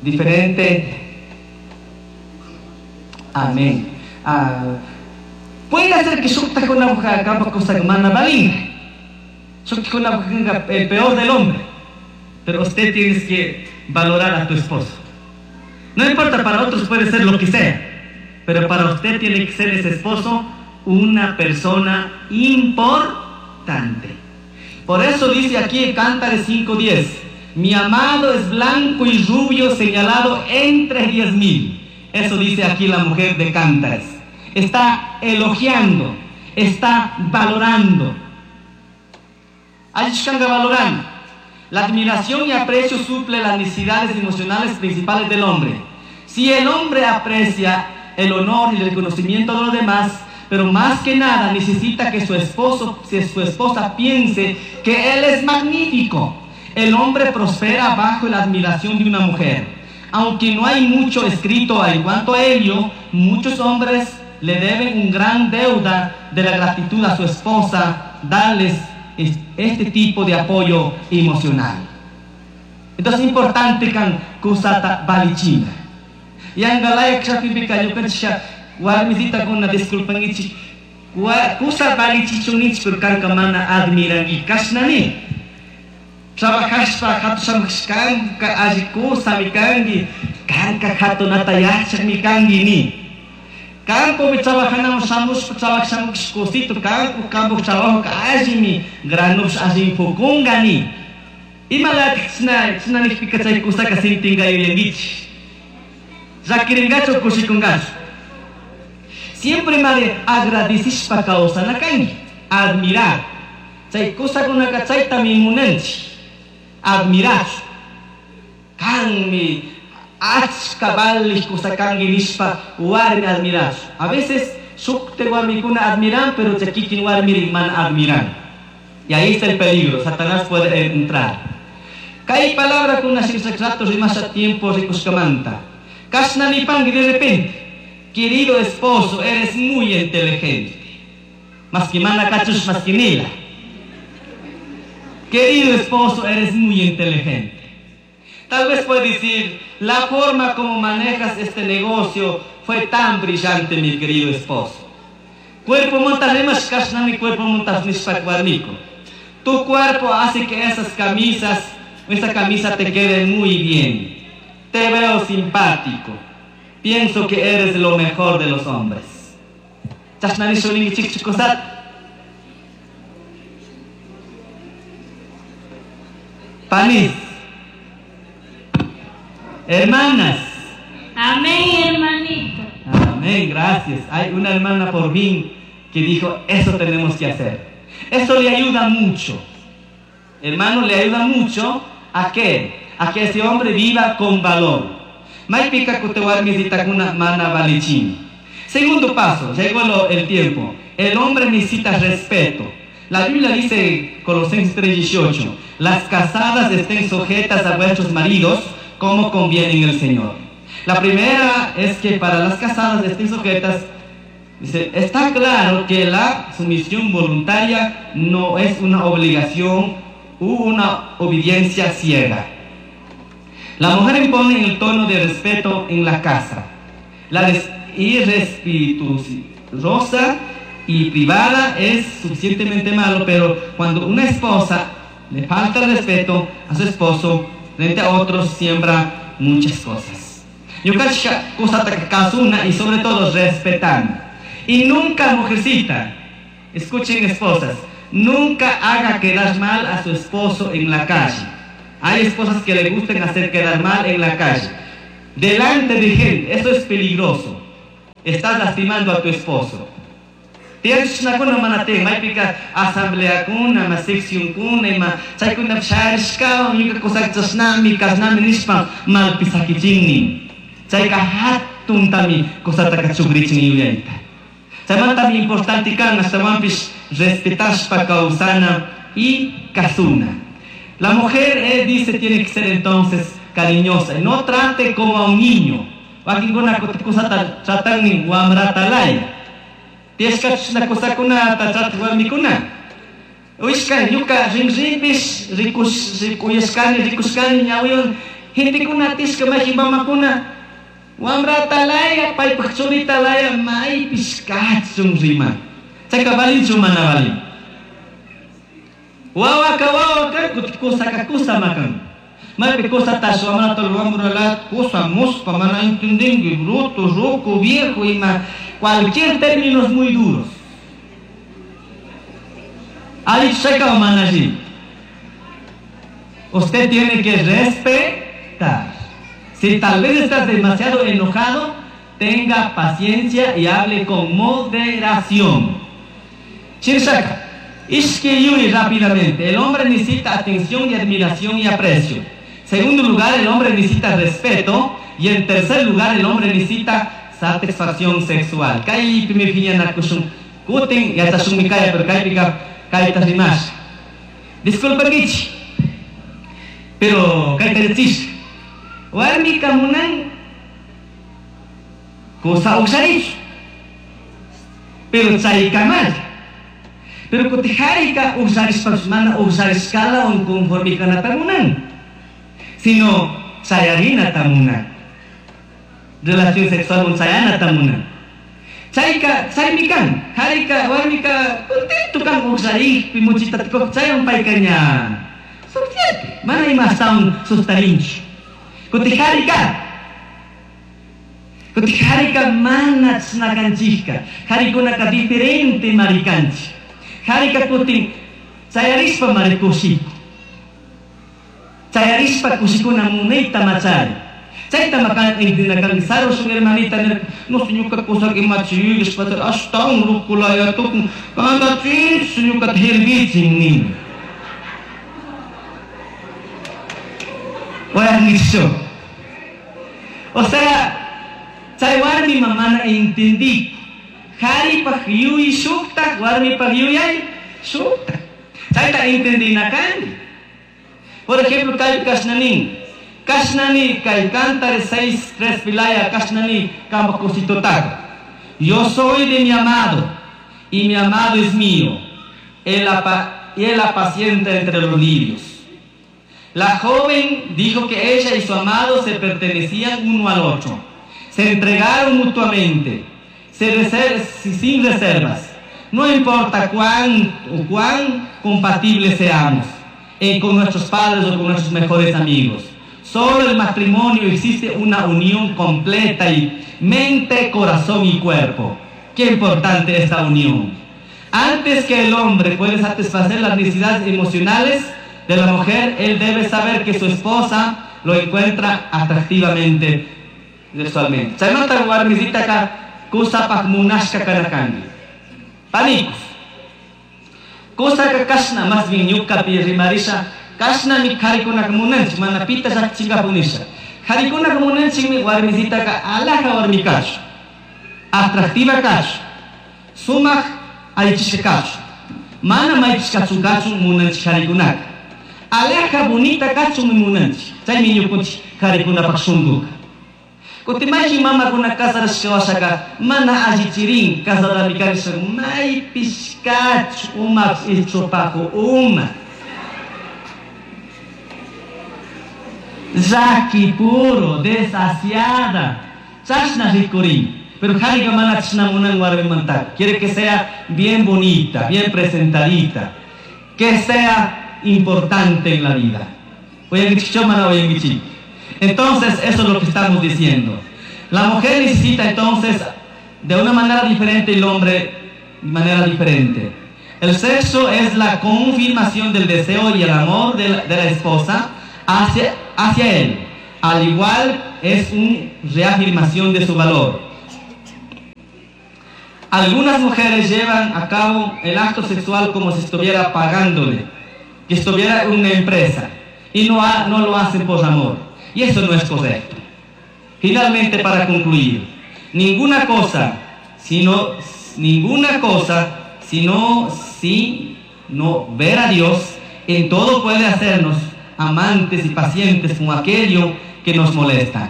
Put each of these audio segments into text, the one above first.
Diferente. Amén. Ah, puede ser que shuktajkuna kampak kusaka mana valinga. Shuktajkuna el peor del hombre. Pero usted tiene que valorar a tu esposo. No importa, para otros puede ser lo que sea. Pero para usted tiene que ser ese esposo una persona importante. Por eso dice aquí en Cántares 5:10: "Mi amado es blanco y rubio, señalado entre 10,000". Eso dice aquí la mujer de Cántares. Está elogiando, está valorando. Valorando. La admiración y aprecio suple las necesidades emocionales principales del hombre. Si el hombre aprecia el honor y el reconocimiento de los demás, pero más que nada necesita que su esposo, si su esposa piense que él es magnífico. El hombre prospera bajo la admiración de una mujer. Aunque no hay mucho escrito en cuanto a ello, muchos hombres le deben un gran deuda de la gratitud a su esposa, darles este tipo de apoyo emocional. Entonces es importante kan kusata balichina. Yangalaya kshapipika ñukanchik warmisitakuna disculpankichik kusa balichichunnichik, pero kanka mana admiranki kashnani. Trabajashpa hatushamashkanka alli kusami kanki, kanka hatunata yachakmi kanki ni. Campopi trabajanamun shamushpa trabajashamush kusito kanku kampo trabajo allimi granopish allimi pukunga ni. Imalatik chashna chashna nijpika chay kusaka sintinga yuyankichik. Llakiringachu kushikungachu. Siempre mari agradecishpa kawsana kanki, admirar. Chay kusakunaka chaytami munanchik, admirachu. Kanmi achka valij kusa kanki nishpa warmi admirachu. A veces shukte warmikuna admiran, pero chay kikin warmiri mana admiran. Y ahí está el peligro, Satanás puede entrar. Kay palabrakuna rato rimasha tiempo rikushkamanta. Kashna nipanki de repente: "Querido esposo, eres muy inteligente". Más que mana kachush, más que nila. "Querido esposo, eres muy inteligente". Tal vez puede decir: "La forma como manejas este negocio fue tan brillante, mi querido esposo". Cuerpo montas kashnami cuerpo montas nishpa warmiko. "Tu cuerpo hace que esas camisas, esa camisa te quede muy bien. Te veo simpático. Pienso que eres lo mejor de los hombres". Chashna nishpa kusat. Panis. Hermanas. Amén, hermanito. Amén, gracias. Hay una hermana por fin que dijo: "Eso tenemos que hacer". Eso le ayuda mucho. Hermano, le ayuda mucho a qué? A que ese hombre viva con valor. Maypika kutin warmisitakuna mana valichin. Segundo paso, llegó el tiempo. El hombre necesita respeto. La Biblia dice, Colosenses 3:18: "Las casadas estén sujetas a vuestros maridos como conviene en el Señor". La primera es que para las casadas estén sujetas, dice, está claro que la sumisión voluntaria no es una obligación u una obediencia ciega. La mujer impone el tono de respeto en la casa. La irrespetuosa y privada es suficientemente malo, pero cuando una esposa le falta el respeto a su esposo frente a otros, siembra muchas cosas. Ñukanchik kusata kasuna y sobre todo respetando. Y nunca, mujercita, escuchen esposas, nunca haga quedar mal a su esposo en la calle. Hay esposas que le gustan hacer quedar mal en la calle, delante de gente, eso es peligroso. Estás lastimando a tu esposo. Tiyashunakuna mana tiyan, maypika asambleakuna, ma seccionkuna, ima chaykuna sharishkawan ñuka kusaka chashnami, kashnami nishpa malpi sakichinnin. Chayka hatuntami kusataka chukrichin yuyayta. Chaymantami importante kan ashtawanpish respetashpa kawsana y kasuna. La mujer, dice, tiene que ser entonces cariñosa y no trate como a un niño. Wakinkuna kusata tratan wamratalaya. Tiyashkachuna kusakunata trataq warmikuna. Uyashkani ñuka rinrinpish rikush rikuyashkani rikushkani ñawiwan. Gentekuna atishka mayqin mamakuna wamrata laya, paypaq churita laya, maypish kachun riman. Chayka valinchu mana valin. Wawaka wawaka kuti kusaka kusa makan. Maypi kusatash wamrata wamrala kusa muspa mana entendinki, bruto, ruco, viejo ima cualquier términos muy duros. Ahí chayka mana allí. Usted tiene que respetar. Si tal vez estás demasiado enojado, tenga paciencia y hable con moderación. Shirshaka, ishki yuri rápidamente. El hombre necesita atención y admiración y aprecio. Segundo lugar, el hombre necesita respeto. Y en tercer lugar, el hombre necesita satisfacción sexual. Kaypimi phiñanakushun kutin yachashunmi kaya, pero kaypika kayta rimash. Disculpankichik, pero kayta richish. Warmika munan kusa uqsharich, pero chaykamal. Pero kuti harika uqsharishpapish mana uqsharishkala conforme kanata munan, sino chayarinata munan. Relación sexual un chayanata munan. Chayka, chaymi kan, harika, warmika contento kan uqsharikpi muchita tukuq chayan paykaña. Suficiente. Mana ima astawan sustarinchu. Kuti harika. Kuti harika mana chashnakanchikka. Harikunaka diferente marikanchik. Harika kutin chayarishpa mari kushiku. Chayarishpa kushikuna munayta machari. Chayta makan entinakan sarushun hermanita nirka, no ñuka kusak imachi yuyashpa ashtawan rukulaya tukun kanta chinchu ñukata hervichin nin. Oyangichu. O sea, chay warmi mana entendí. Haripaj yuy shuktak, warmipaj yuyay shuktak. Chayta entendinakani. Por ejemplo, kay kasnanin. Kashnani kay Cantares 6:3 pilaya kashnani kampa kusitotaka. Yo soy de mi amado y mi amado es mío. Él y él apacienta entre los lirios. La joven dijo que ella y su amado se pertenecían uno al otro. Se entregaron mutuamente, sin reservas. No importa cuán o cuán compatibles seamos con nuestros padres o con nuestros mejores amigos. Solo el matrimonio existe una unión completa y mente, corazón y cuerpo. Qué importante esta unión. Antes que el hombre pueda satisfacer las necesidades emocionales de la mujer, él debe saber que su esposa lo encuentra atractivamente sexualmente. Chaymanta warmisitaka kusapaj munashka kanakanki. Panicos. Kusaka kashna más bien ñukapi rimarisha, kashnami qharikunaka munanchik, mana pita llakchinkapuk nisha. Qharikunaka munanchikmi warmisitaka alhaja warmi kachun, atractiva kachun, sumaq allichishka kachun, mana maychishkachu kachun munanchik qharikunaka. Alhaja bonita kachunmi munanchik, chaymi ñukunchik qharikunapaq shunkuka. Kuti mayqin mamakuna casarashka washaka mana allichirin casadami karisha maypish kachu umapish ichupaqu uma. Llaki puro, desasiada, chashna rikurin. Pero harika mana chashna munan warmimantaka. Quiere que sea bien bonita, bien presentadita, que sea importante en la vida. Oyangichik mana oyangichik. Entonces, eso es lo que estamos diciendo. La mujer necesita entonces de una manera diferente y el hombre de manera diferente. El sexo es la confirmación del deseo y el amor de la esposa hacia él. Al igual es una reafirmación de su valor. Algunas mujeres llevan a cabo el acto sexual como si estuviera pagándole, que estuviera en una empresa, y no lo hacen por amor. Y eso no es correcto. Finalmente, para concluir, ninguna cosa, sino, ninguna cosa, sino, sino ver a Dios en todo puede hacernos amantes y pacientes con aquello que nos molesta.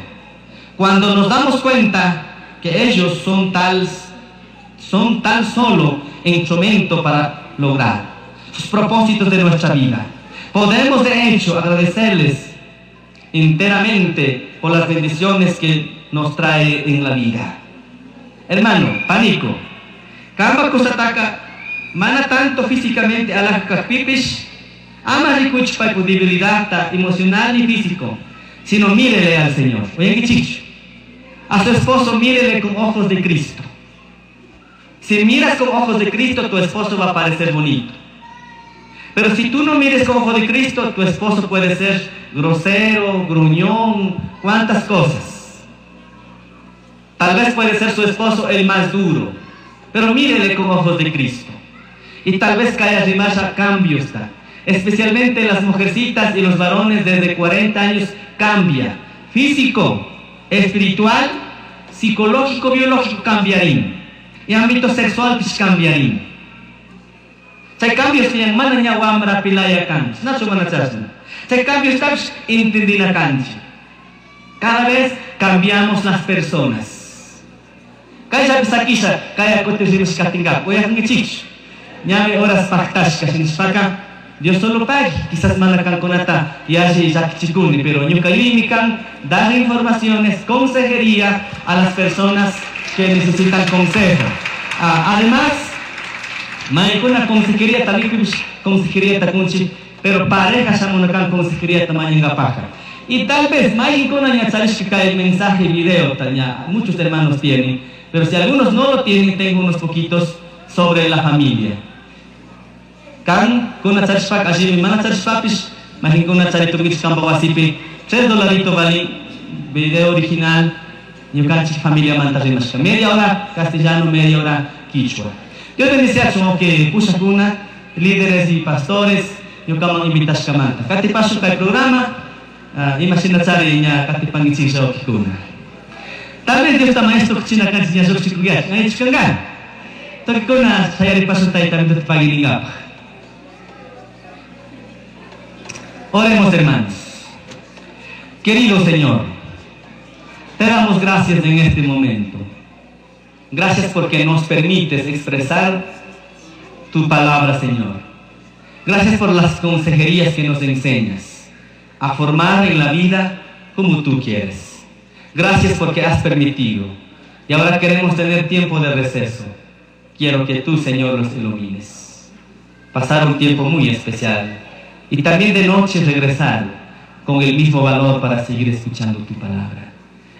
Cuando nos damos cuenta que ellos son tan solo instrumento para lograr sus propósitos de nuestra vida, podemos de hecho agradecerles enteramente por las bendiciones que nos trae en la vida. Hermano, pánico. Kamba kusataka mana tanto físicamente alaj pipish, ama rikuch paypu debilidad emocional y físico, sino mírele al Señor. Oye, qué chicho. A su esposo mírele con ojos de Cristo. Si miras con ojos de Cristo, tu esposo va a parecer bonito. Pero si tú no mires con ojos de Cristo, tu esposo puede ser grosero, gruñón, cuantas cosas. Tal vez puede ser su esposo el más duro, pero mírele con ojos de Cristo. Y tal vez caiga rimasha cambio está. Especialmente las mujercitas y los varones desde 40 años cambia. Físico, espiritual, psicológico, biológico cambiarín. Y ámbito sexual pues cambiarín. Chay cambios tiyan mana ña wamra pilaya kanchi. Nacho mana chasna. Chay cambios tapish entendina kanchi. Cada vez cambiamos las personas. Kaya pisakisha, kaya kutirrimush katingap. Oyakankichikchu. Ñami horas paktashka shinishpaka. Dios solo pague, quizás mana kankunata yalli llakichikuni, pero ñuka yuyaymi kan dar informaciones, consejería a las personas que necesitan consejo. Además, maykuna consejería también consejería takunchi, pero pareja shamunakan consejería tamañingapaka. Y tal vez maykuna ña charishka el mensaje video, taña, muchos hermanos tienen, pero si algunos no lo tienen, tengo unos poquitos sobre la familia. Kan kuna charishpak allí mana charishpapish, mahinkuna charitukich kampa wasipi, 3 dolaritos vale video original, ñukanchik familia manta rimashka. Media hora castellano, media hora quichua. Dios bendice a que pushakuna, líderes y pastores, ñukaman invitashkamanta. Katipashu kay programa, imagina chari ña katipangichik shawkikuna. Tal vez Dios está maestro kuchina kanchik ña shukchikuyach, ña ichkangan. Tokikuna shayaripashu tayta paginingapaj. Oremos, hermanos. Querido Señor, te damos gracias en este momento. Gracias porque nos permites expresar tu palabra, Señor. Gracias por las consejerías que nos enseñas a formar en la vida como tú quieres. Gracias porque has permitido. Y ahora queremos tener tiempo de receso. Quiero que tú, Señor, nos ilumines. Pasar un tiempo muy especial. Y también de noche regresar con el mismo valor para seguir escuchando tu palabra.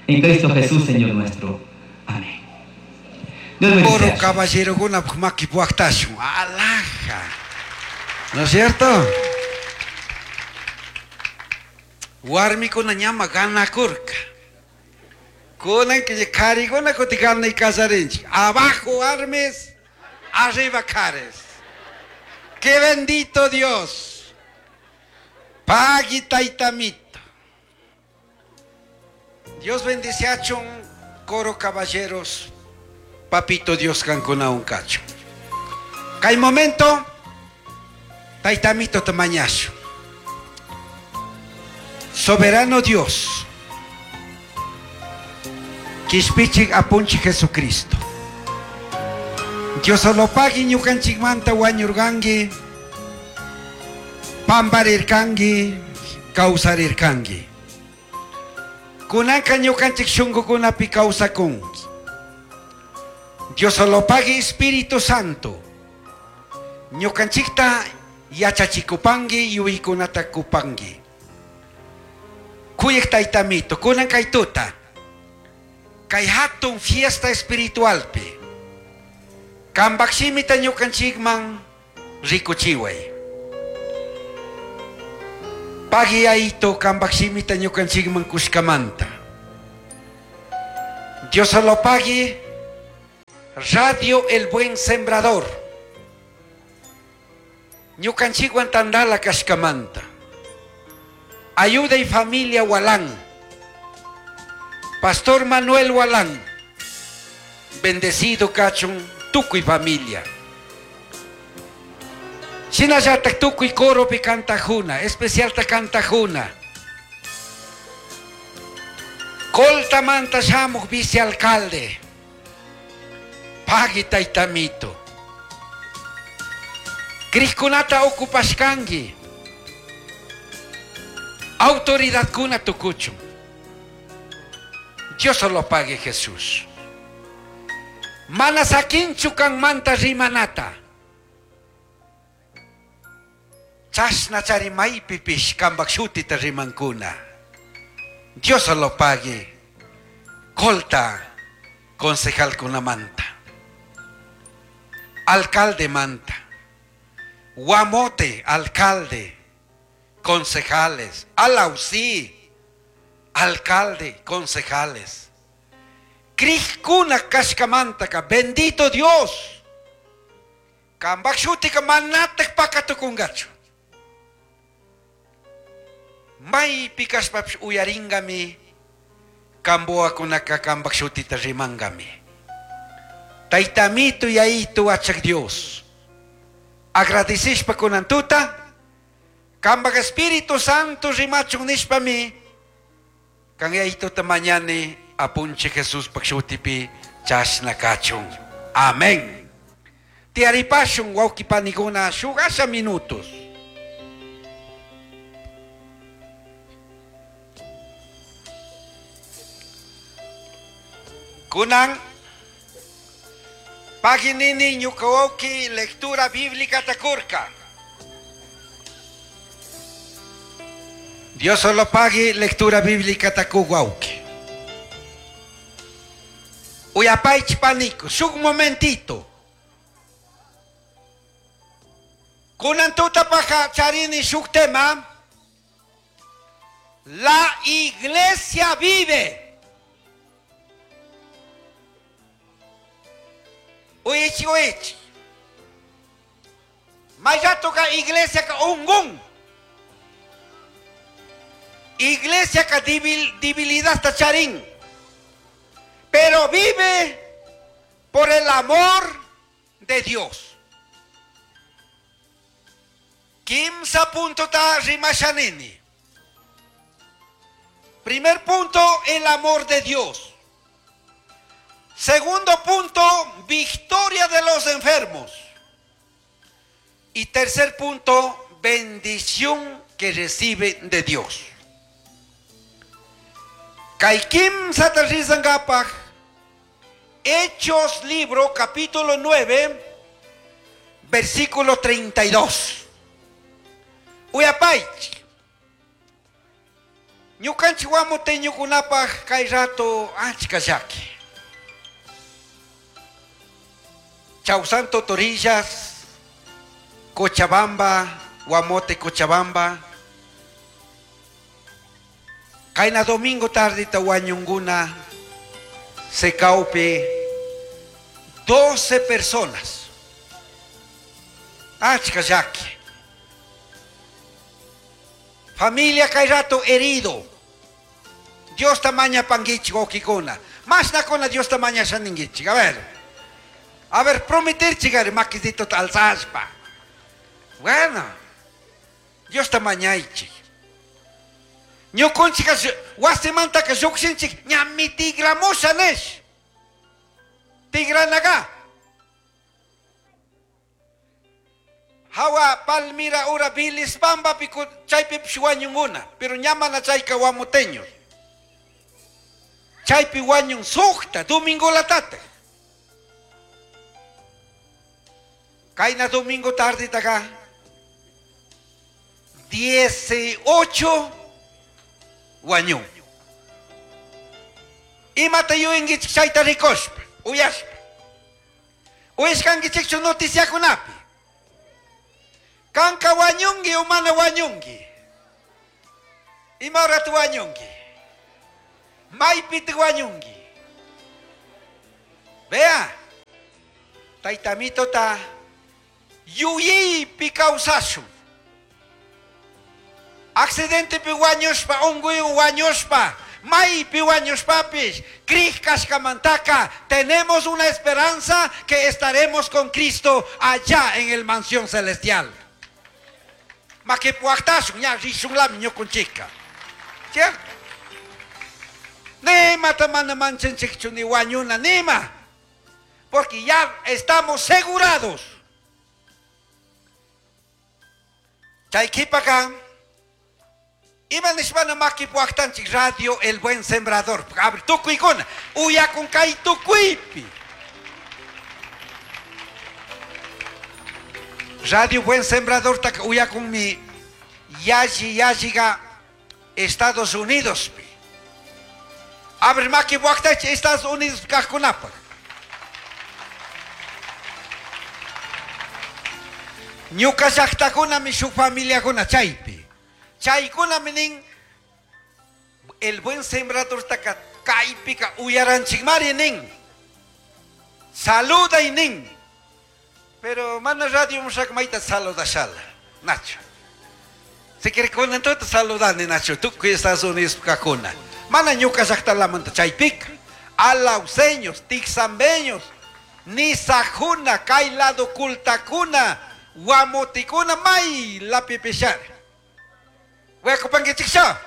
En Cristo Jesús, Señor nuestro. Amén. Dios bendiga. Oro caballero guna maki puactashu. Alaja. ¿No es cierto? Warmikuna ñama ganakurka. Kunan que kariguna kuti gana y casarinchik. Abajo armes, arriba cares. ¡Qué bendito Dios! Pagui taitamito. Dios bendice a chun coro caballeros. Papito Dios cancuna un cacho. Kay momento, taitamito tamañacho. Soberano Dios. Quishpichik apunchi Jesucristo. Dios solo pagui ñukanchikmanta wañurgangi. Pambarirkangi, kawsarirkangi. Kunanka ñukanchik shunkukunapi kawsakunki. Dios solo pagui Espíritu Santo. Ñukanchikta yachachikupangi, yuykunata kupangi. Kuyek taytamito, kunan kaytuta. Kay hatun fiesta espiritualpi. Kambakshimita ñukanchikman rikuchiway. Pagui aito kambakshimita ñukanchikman kushkamanta. Dios solo pagui Radio El Buen Sembrador. Ñukanchikwan tandala kashkamanta. Ayuda y familia Walán. Pastor Manuel Walán. Bendecido kachun tukuy familia. Shinallatak tukuy coropi kantajuna, especial ta kantajuna. Coltamanta shamuj vicealcalde. Pagui taytamito. Crijkunata ocupashkanki. Autoridadkuna tukuchun. Dios solo pague Jesús. Mana sakinchu kanmanta rimanata. Chashna chari maypipish kanpak shutita rimankuna. Dios solo pague. Colta concejalkunamanta. Alcalde manta. Guamote, alcalde, concejales, Alausí, alcalde, concejales. Crijkuna kashkamantaka, bendito Dios. Kanpak shutika manatak pakatukungachu. Maypi kashpapish uyaringami, kambuakunaka kanpak shutita rimangami. Taytamito yayitu achak Dios. Agradecishpa kunan tuta, kanpak Espíritu Santo rimachun nishpami, kan yayituta mañani apunchij Jesuspak shutipi chashna kachun. Amén. Tiaripashun wawqi panikuna shuk asha minutos. Kunan paginini ñuka wawqi lectura bíblica takurka. Dios solo pague lectura bíblica taku wawqi. Uyapaychi paniku, shuk momentito. Kunan tuta paja charini shuk tema. La iglesia vive. Uichi, uichi. Mayatoka iglesia ka ungun. Iglesia ka debilidad tacharín. Pero vive por el amor de Dios. Kimsa punto ta rimashanini. Primer punto, el amor de Dios. Segundo punto, victoria de los enfermos. Y tercer punto, bendición que recibe de Dios. Kay kimsa ta rizangapaj, Hechos libro, capítulo 9, versículo 32. Uyapaychik. Ñukanchik wamuteñukunapaj kay rato achka llaki. Chausanto Torillas, Cochabamba, Guamote, Cochabamba. Kaina domingo tardita wañunguna Secaupe, 12 personas. Achka llaki. Familia kay rato herido. Dios tamaña panguichi wawkikuna. Mashnakuna Dios tamaña shaninguichik. A ver. A ver, prometer chigari maquisito alzashpa. Bueno, Dios tamañaichik. Ñukunchika wasimantaka llukshinchik ñami tigramusha nish. Tigranaga. Hawa Palmira ura Bilisbamba piku chaypipish wañunguna, pero ñamana chayka guamuteños. Chaypi wañun sukta domingo latata. Kayna domingo tarde acá. 18 wañun. Imata yuyankichik chayta rikushpa, uyashpa. Uyashkankichikchu noticiakunapi. Kanka wañunki o mana wañunki. Ima horat wañunki. Maypita wañunki. Vea. Taytamito ta yuyaypi kawsashun. Accidentepi wañushpa, unquywan wañushpa, maypi wañushpapis, crij kashkamantaka, tenemos una esperanza que estaremos con Cristo allá en el mansión celestial. Makipuajtashun, ña rishunlami ñukunchika. ¿Cierto? Nima ta mana manchanchikchu ni wañuna, nima. Porque ya estamos segurados. Chay qhipaka, Ima nishpana maki puwaktanchik Radio El Buen Sembrador. A ver, tukuykuna uyakun kay tukuypi. Radio Buen Sembrador taka uyakunmi yalli yalliga Estados Unidospi. A ver, maki puwaktanchik Estados Unidos kaqkunapaq. Ñuka llaqtakunami shuk familiakuna chaypi. Chaykunami nin El Buen Sembradortaka kaypika uyaranchikmari nin. Saluday nin. Pero mana radio mushak mayta saludashala. Nacho. Si quiere kunan tuta saludani Nacho. Tukuy Estados Unidos kakuna. Mana ñuka llaqtalamanta chaypika. Alauceños, tixambeños, nisajuna, kay lado kultakuna, guamotikuna, may lapipishar. Huecopanguichiksha.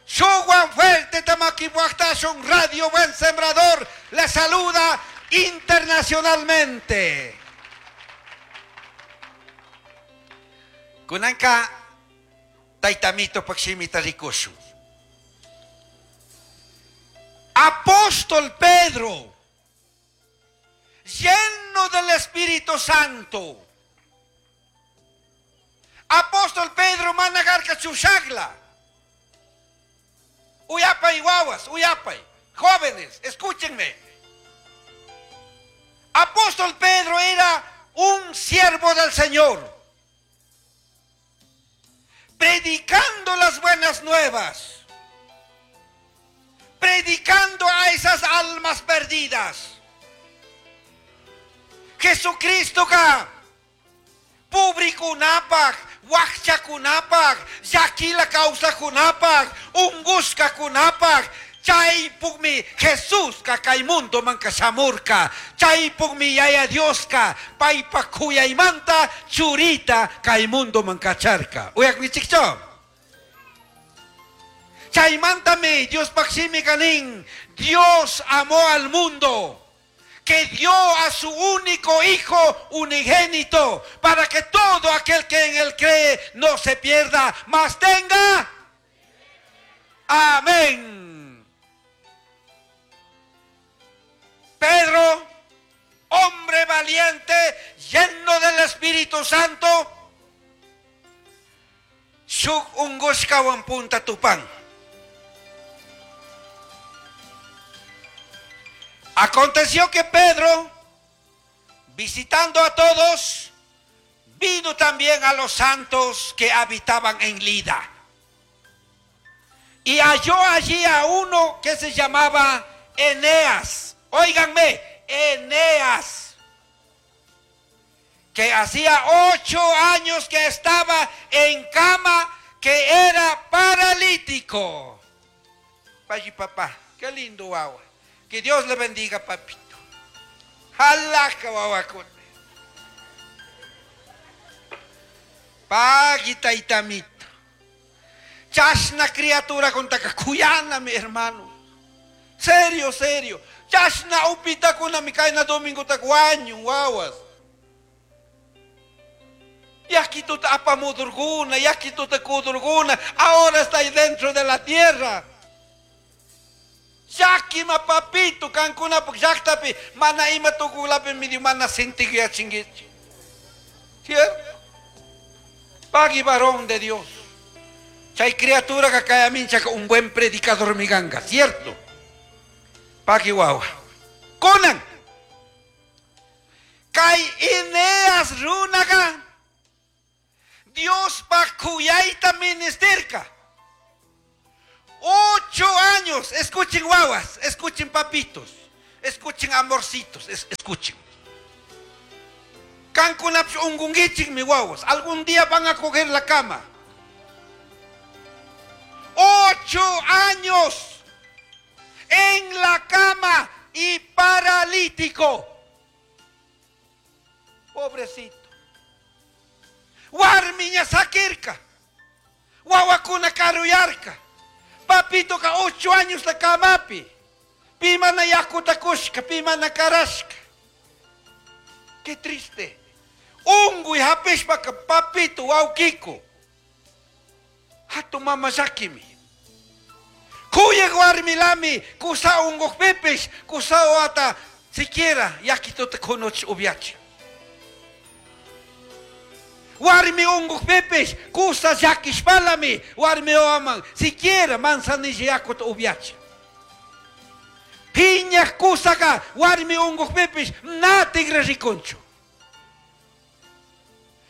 Shuwan fuerte tamaquipuactashun Radio Buen Sembrador le saluda internacionalmente. Kunanka taytamito pakshimita rikushu. Apóstol Pedro, lleno del Espíritu Santo. Apóstol Pedro managarka chushagla. Uyapay guaguas, uyapay. Jóvenes, escúchenme. Apóstol Pedro era un siervo del Señor, predicando las buenas nuevas, predicando a esas almas perdidas. Jesucristo ka pobrekunapak, wakchakunapak, llakila kawsaqkunapak, unqushkakunapak, chaypukmi Jesuska kay mundomanka shamurka, chaypukmi Yaya Dioska paypak kuyaymanta churita kay mundoman kacharka. Uyakmichikchu? Chaymantami Diospaq shimika nin, Dios amó al mundo, que dio a su único hijo unigénito, para que todo aquel que en él cree no se pierda, mas tenga. Amén. Pedro, hombre valiente, lleno del Espíritu Santo, shuk ungushkawan punta tupan. Aconteció que Pedro, visitando a todos, vino también a los santos que habitaban en Lida. Y halló allí a uno que se llamaba Eneas. Óiganme, Eneas, que hacía 8 años que estaba en cama, que era paralítico. Payi papá, qué lindo agua. Que Dios le bendiga, papito. Jalaka wawakuna. Pagui taitamito. Chashna criatura contaka kuyana, mi hermano. Serio, serio. Chashna upitakuna mi kaina domingo takuaño, wawas. Yakituta apamudurguna, yakituta kudurguna, ahora está ahí dentro de la tierra. Yakima papito, kankuna llaqtapi, mana ima tukulapi medio mana sintikyachinkichik. ¿Cierto? Pagui varón de Dios. Chay criatura que kaya minchaka un buen predicador miganga, ¿cierto? Pagui guagua. Kunan. Kay Eneas runaga. Dios pa kuyayta ministerka. 8 años, escuchen guaguas, escuchen papitos, escuchen amorcitos, escuchen. Kankunapis ungunguichik mi guaguas, algún día van a coger la cama. 8 años en la cama y paralítico. Pobrecito. Warmiña sakirka, guaguacuna karuyarka. Papito ka 8 años la camapi. Pimana yakuta kushka, pimana karashka. Qué triste. Ungu y hapishpa ka papito waukiko. Hatun mama llaquimi. Cuyaj warmilami cusa ungujpipish cusa wata siquiera yaquituta cunuch ubyachin. Warmi ungujpipish cusa llaquishpalami warmi wawaman siquiera manzanilla yacuta ubyachin. Piñaj cusaca warmi ungujpipish na tigra ricunchu.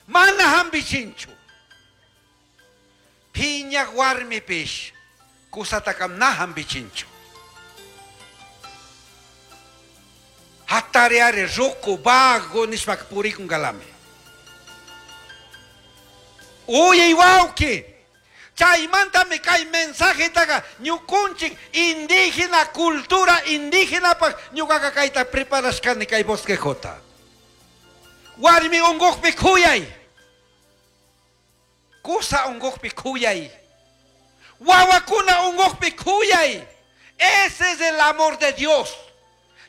Mana jambichinchu. Piñaj warmipish cusataca na jambichinchu. Jatariari rucu vago nishpaca puricungalami. Uyai huauqui, chaimantami cai mensajetaca ñucunchij indígena cultura indígenapaj ñucaca caita preparashcani cai bosquejota. Warmi ungujpi cuyai. Cusa ungujpi cuyai. Wawakuna ungujpi cuyai. Ese es el amor de Dios.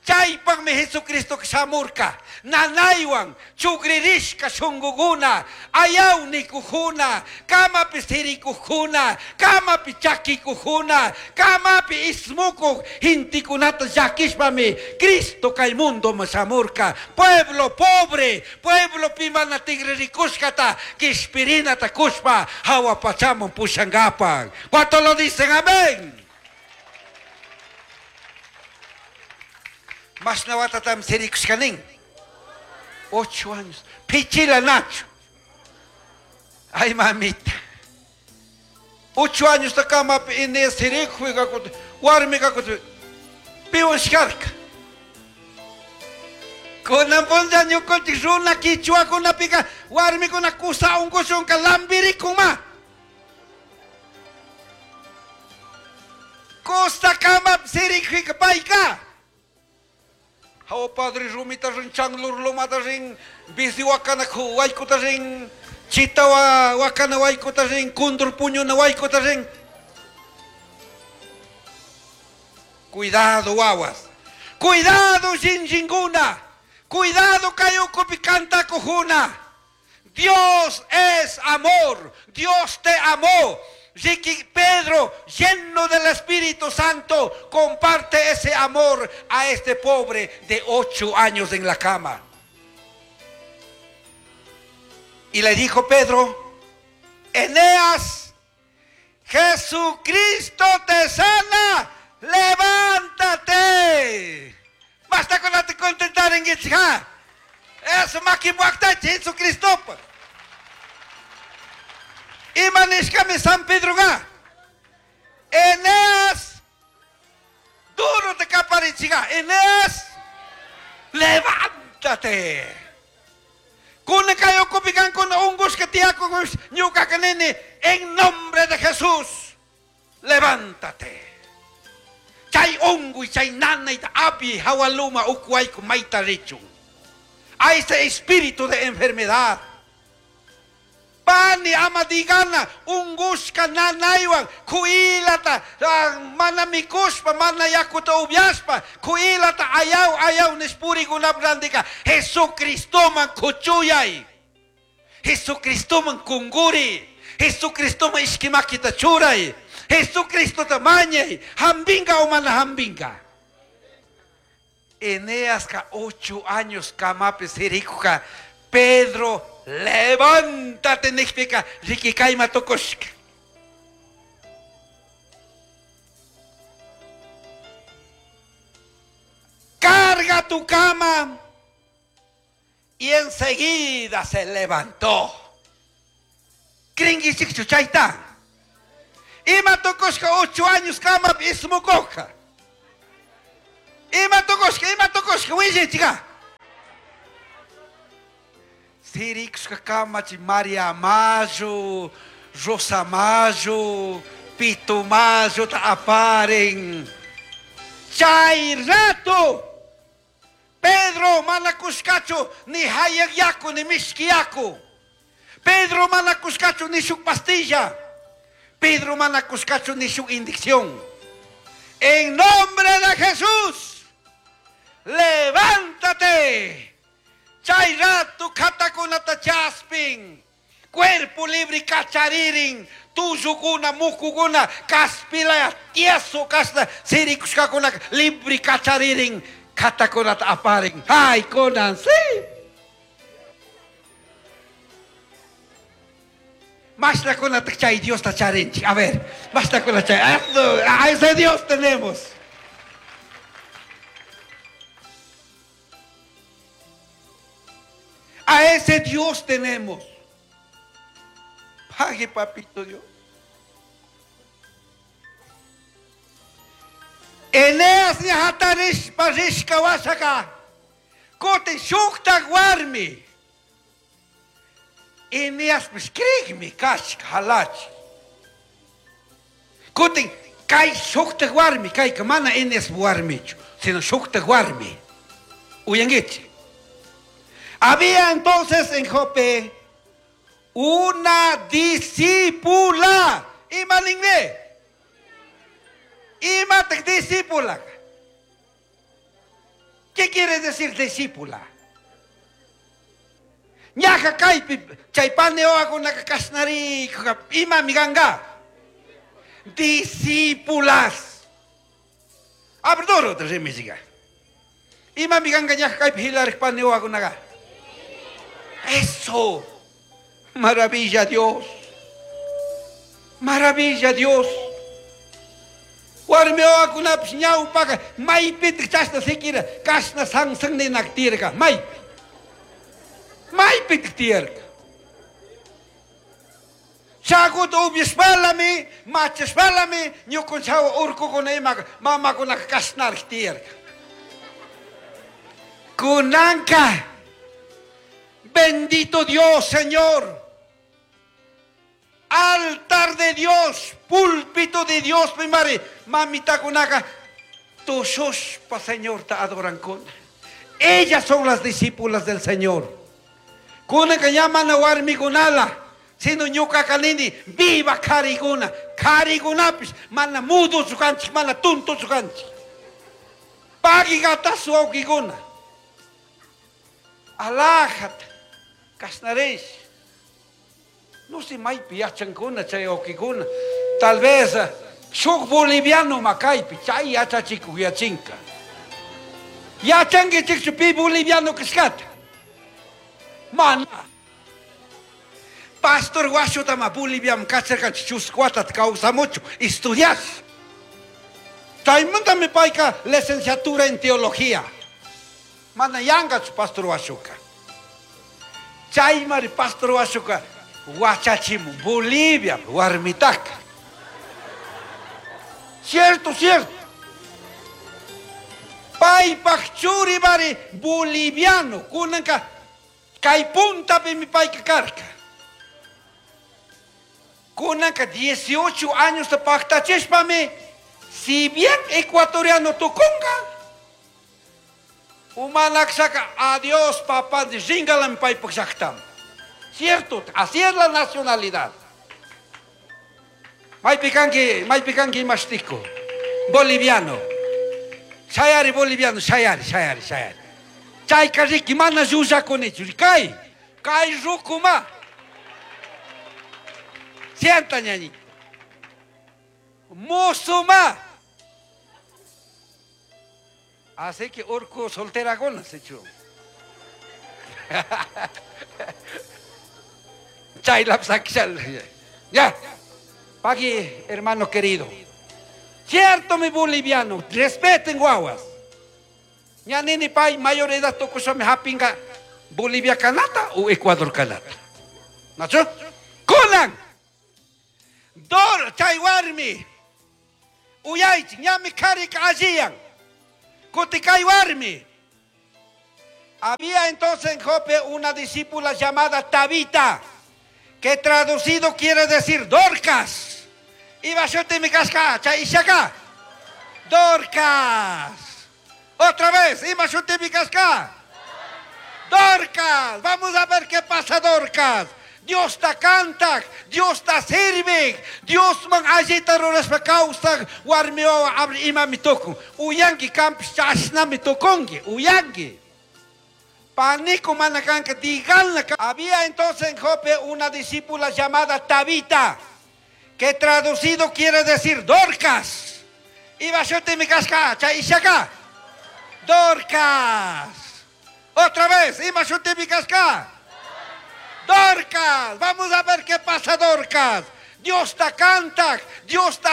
Chaypaqmi Jesucristo shamurka. Nanaywan chugririshka shungukuna, ayaw nikujuna, kamapi sirikujuna, kamapi chakikujuna, kamapi ismukuj gentekunata llakishpami Cristo kay mundoman shamurka. Pueblo pobre, pueblo pimana tigririkushkata, kishpirinata kushpa hawa pachaman pushankapak. ¿Cuánto lo dicen? Amén. Mashna watatam sirikushkanin. 8 años. Pichila nacho. Ay, mamita. 8 años ta kamapi Inés sirikuy kakut, warmi kakut, piwan shkarka. Kunan punlla ñukanchik runa kichwakunapika warmikuna kusa unkushunka lambirikun ma. Kusa kamapi sirikuyka payka. Hawa padre rumita rin, changlur lomata rin, bizi wakana waykota rin, chita wakana waykota rin, kundur puñuna waykota rin. Cuidado, wawas. Cuidado, shinshinguna. Cuidado, kayukupi kantakujuna. Dios es amor. Dios te amó. Ricky Pedro, lleno del Espíritu Santo, comparte ese amor a este pobre de 8 años en la cama. Y le dijo Pedro, Eneas, Jesucristo te sana, levántate. Basta con la te contentar en Gitja. Eso maquimuacta Jesucristo. Imanishkami San Pedro ga. Eneas, duro te caparichiga. Eneas, levántate. Kuna kayo kupikan kuna ungus que tiaco ñuka kanene, en nombre de Jesús, levántate. Chay ungu y chay nana y api hawaluma ukuayku maita richun. A ese espíritu de enfermedad. Pani ama digana ungushka nanaywan kuilata, mana mikushpa mana yakuta ubyashpa kuilata ayaw ayaw nishpurikunap randika Jesucristoman kuchuyay, Jesucristoman kunguri, Jesucristoman ishkimakita churay, Jesucristota mañay, hambinga o mana hambinga. Eneaska 8 años kamapi sirikuka Pedro, levántate, nijpika, rikikayma tukushka. Carga tu cama. Y enseguida se levantó. Kringichikchu chayta. Ima tukushka 8 años kama ismukoka. Ima tukushka, ima tukushka, willichiga. Sirikushka kamachi María Mayo, Rosa Mayo, Pito Mayo ta aparen. Chay rato. Pedro manakushkachu ni hayak yaku ni mishki yaku. Pedro manakushkachu ni shuk pastilla. Pedro manakushkachu ni shuk indicción. En nombre de Jesús, levántate. Chay rato katakunata chaspin. Cuerpo libre kacharirin, tullukuna, mukukuna, kaspilaya, tieso kashna, sirikushkakunaka libre kacharirin, katakunata aparin. Ay, kunan, sí. Mashnakunata chay Diosta charinchik. A ver, mashnakuna chay. A ese Dios tenemos. A ese Dios tenemos. Pague, papito Dios. Eneas ña hatarishpa rishka washaka. Kutin shuktak warmi. Eneaspish krikmi kashka halachi. Kutin kay shuktak warmi, kayka mana Eneas warmichu, sino shuktak warmi. Uyanguichi. Había entonces en Jope una discípula. Ima ninmi. Imatak discípula. ¿Qué quiere decir discípula? Ñaja kaypi chay paneoakunaka kashnarikuka imami kanka. Discípulas. Abrdoro rimisiga. Imami kanka ñaja kaypi hilarik paneoakunaka. Eso. Maravilla Dios. Maravilla Dios. Warmi wawakunapish ñawpaka maypitik chashna siquiera kashna sansan ninak tiyarka maypi. Maypitik tiyarka. Chaguta upyashpalami, machashpalami, ñukunchawa urkukuna imaka mamakunaka kashnarik tiyarka. Kunanka, bendito Dios, Señor. Altar de Dios, púlpito de Dios, mi madre, mamita kunaka, tushushpa Señor ta adoran kuna. Ellas son las discípulas del Señor. Kunaka llaman a warmi kunala, sino ñuka kanini, viva kariguna, karigunapis, mana mudo sukanchik, mana tunto sukanchik. Pagi gatasu wawkikuna. Alájate, kasnaresh. No sé, maypi yachankuna chay wawkikuna. Tal vez shuk boliviano makaypi chay yachachikuk yachinka. Yachankichikchu pi boliviano kashkata. Mana. Pastor Washutama Boliviam kacharkanchik chusku watata kawsamuchu estudiash. Chaymantami payka licenciatura en teología. Mana yankachu Pastor Washuka. Chaymari Pastor Washuka wachachimun Bolivia warmitaka. Cierto, cierto. Paypaj churi mari boliviano kunanka kay puntapimi payka karka. Kunanka 18 años paktachishpami, si bien ecuatoriano tukunka, umanakshaka adiós papá ringalam paypaj llaktaman. Cierto, así es la nacionalidad. Maypi kanki imashtico, boliviano. Shayari boliviano, shayari, shayari, shayari. Chayka riki mana llullakunichu, kay, kay rukuma. Sienta ñañito. Musuma. Así que urku soltera se echó. Ya. Pagui, hermano querido. Cierto, mi boliviano, respeten guaguas. Ñanini pay, mayor edad tokusame hapinga Bolivia kanata o Ecuador kanata. ¿Nacho? Kunan. Dor chay warmi. Uyaychi, ñami karika alliyan. Kutikay warmi. Había entonces en Jope una discípula llamada Tabita, que traducido quiere decir Dorcas. Iba yo mi casca, chay ishaka. Dorcas. Otra vez, iba yo mi casca. Dorcas. Vamos a ver qué pasa, Dorcas. Dios ta canta, Dios ta sirve, Dios man allita rurashpa kawsak, warmi wawa abre imami tukun. Uyanki kampis chashnami tukunki, uyanki. Pánico mana kanka, díganle. Había entonces en Jope una discípula llamada Tabita, que traducido quiere decir Dorcas. Iba mi casca, chaishaka. Dorcas. Otra vez, iba mi casca. Dorcas. Vamos a ver qué pasa, Dorcas. Dios te canta, Dios te.